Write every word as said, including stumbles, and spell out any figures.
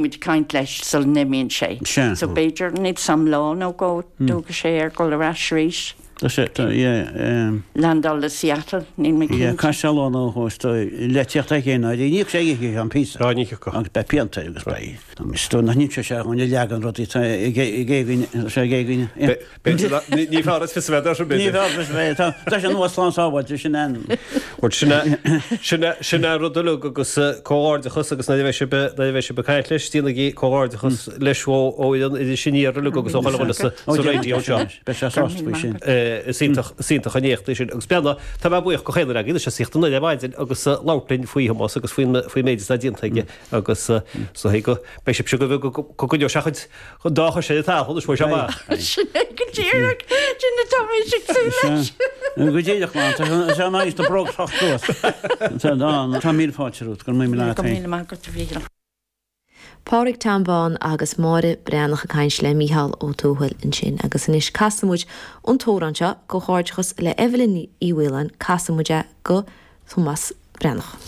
muid ag caint leis sula n-imíonn sé. Sea. So b'fhéidir níl 's a'm lá nó dhó dtógfaidh sé air dul ar ais arís. Tá sé, tá, yeah, um. Landáil i Seattle, níl mé Yeah, cinnte. caithfidh sé lá nó dhó is dóigh le tíocht aige féin, ní íocfaidh sé oíche an píosa. Á, ní thiocfadh. Agus beidh pianta air agus beidh, is dóigh nach n-inseoidh sé dhúinn a leagan rudaí atá ag éagaoine, tá sé ag éagaoine, yeah. B'fhéidir nach, ní, ní fearr is fios a bheith air sin, Ní b'fhéidir. fearr fios a bheith, tá, tá sé nua slán sábháilte, sin an. Bhuel, sin é, sin é, sin é rud uilig agus comhghairdeachas agus nuair a bheidh sibh, nuair a bheidh sibh ag caint leis, déanaigí comhghairdeachas leis ó, ó fhoireann Iris Aniar uilig agus ó chuile dhuine sa, sa raidió anseo. Beidh sé sásta faoi sin. Is iontach, is iontach an éacht é sin. Agus beanna, tá mé buíoch go chaon duine agaibh, tá sé saochta an ar maidin agus labhairt linn faoi Thomás agus faoin, faoin méid atá déanta aige agus so go beidh sibhse go go go gcoinneoidh sé a chuid an dá chois ar an talamh anois uaidh seo amach. Sin é go díreach, sin atá mé ag súil leis. Go díreach, man, tá sé an áit do bhróg teacht suas. Tá míle fáilte romhat, go raibh míle maith Go agat féin. míle maith agat a Mhíchíl. Pádraig Tom Bán agus Máire Breathnach ag caint le Mícheál Ó Tuathail ansin agus anois casfaidh muid an t-amhrán seo, comhghairdeachas le Evelyn Ní Mhaoláin, casfaidh muid é go Tomás Breathnach.